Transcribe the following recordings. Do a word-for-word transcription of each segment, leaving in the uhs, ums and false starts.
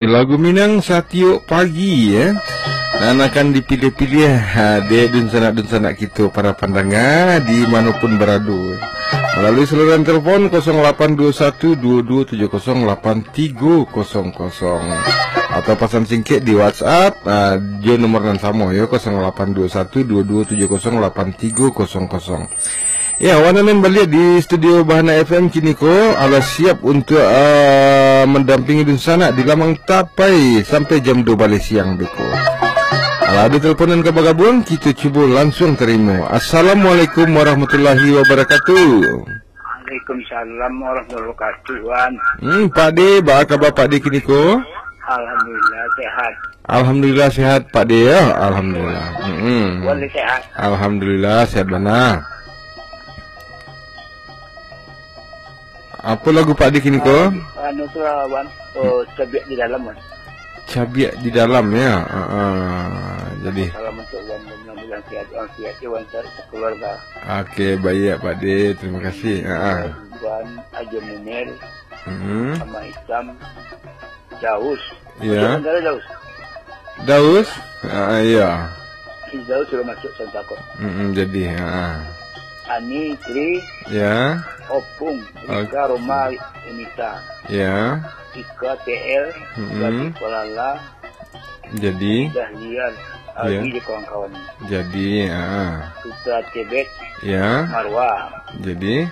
Lagu Minang satiok pagi, ya. Nan akan dipilih-pilih, ha, dek dunsanak-dunsanak kito, para pandanga, di manopun barado. Melalui saluran telepon kosong lapan dua satu dua dua tujuh kosong lapan tiga kosong kosong. Atau pasan singkek di WhatsApp, ha, jo nomor nan samo, yo, kosong lapan dua satu dua dua tujuh kosong lapan tiga kosong kosong. Ya, wan nan baliak di studio Bahana F M kiniko, alah siap untuak, ah, mandampingi dunsanak di lamang tapai sampai jam dua baleh siang beko. Alah, ado teleponan ka bagabuang, kito cubo lansuang tarimo. Assalamualaikum warahmatullahi wabarakatuh. Waalaikumsalam warahmatullahi wabarakatuh, Wan. Hmm, Pak De, baa kaba Pak De kiniko? Alhamdulillah, sehat. Alhamdulillah sehat, Pak De, ya. Alhamdulillah. Mm-mm. Wan sehat. Alhamdulillah, sehat bana. Apo lagu Pak De kiniko? Ah, anu tu lah, Wan. Oh, Cabiak di Dalam, Wan. Cabiak di Dalam, ya. Ah, ah. Jadi. Salam untuk Wan, mudah-mudahan sehat, Wan, sehat, Wan, sekeluarga. Oke, baik, Pak De. Terima kasih. Ah, ah. Wan, Ajo Munir, Mm-mm. Ama Itam, Daus. Iya. Macam mana Daus? Daus? Ah, iya. Si Daus sudah masuk Santako. Mm-mm, jadi, ah. Ani, Tri, Ya. Opung, Oke. Rika, Roma, Unita. Ya. Ika, T L, Mm-mm. Gabi, Kualala, Jadi. Dahlia, Ya. Aldi, dan kawan-kawan. Jadi, ah. Putra Tebet, Ya. Marwa. Jadi.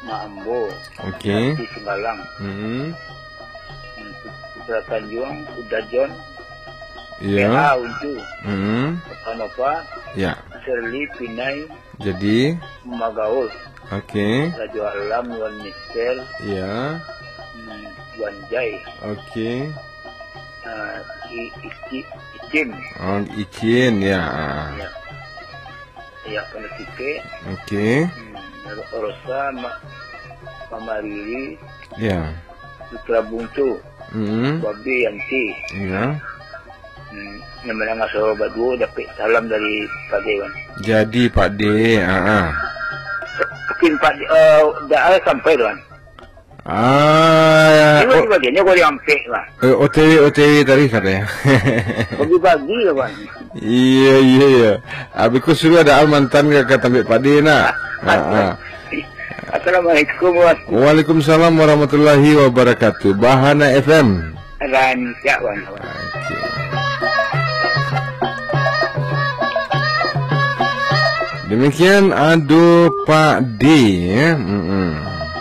Mak Ambo, Oke. Sati Simbalang, Mm-mm. Putra Tanjuang, Uda John, Iya. P A Uncu, Mm-mm. Nova Nova, Ya. Sherly Pinai, Jadi. Magaul, Oke. Rajo Alam, Wan Mister, Iya. hmm, Wan Jai, Oke. ah, I-, Ici-, Icin. Oh, Icin, ya. Ya. Ya, Pandai Sike. Oke. Hmm, Ro-, Rosa, Ma-, Mama Riri, Ya. Putra Buntu, Mm-mm. Babe Yanti. Ya. Hmm, nan mandanga suaro baduo dapek salam dari Pak De, Wan. Jadi, Pak De, ah, ah. Mungkin Pak De, eh, dah sampai tu, Wan. Ah, Ini oh, bagi-bagiannya kau diampek, Wan. Eh, O T W, O T W tadi katanya. Bagi-bagi lah, Wan. Iya, iya, iya. Abis ku suruh ada mantan ka, ka tambik Pak De nak. Ah, ah. Assalamualaikum, Wan. Waalaikumsalam warahmatullahi wabarakatuh. Bahana F M. Rancak, Wan. Oke. Demikian ado Pak De, ya. Mm-mm.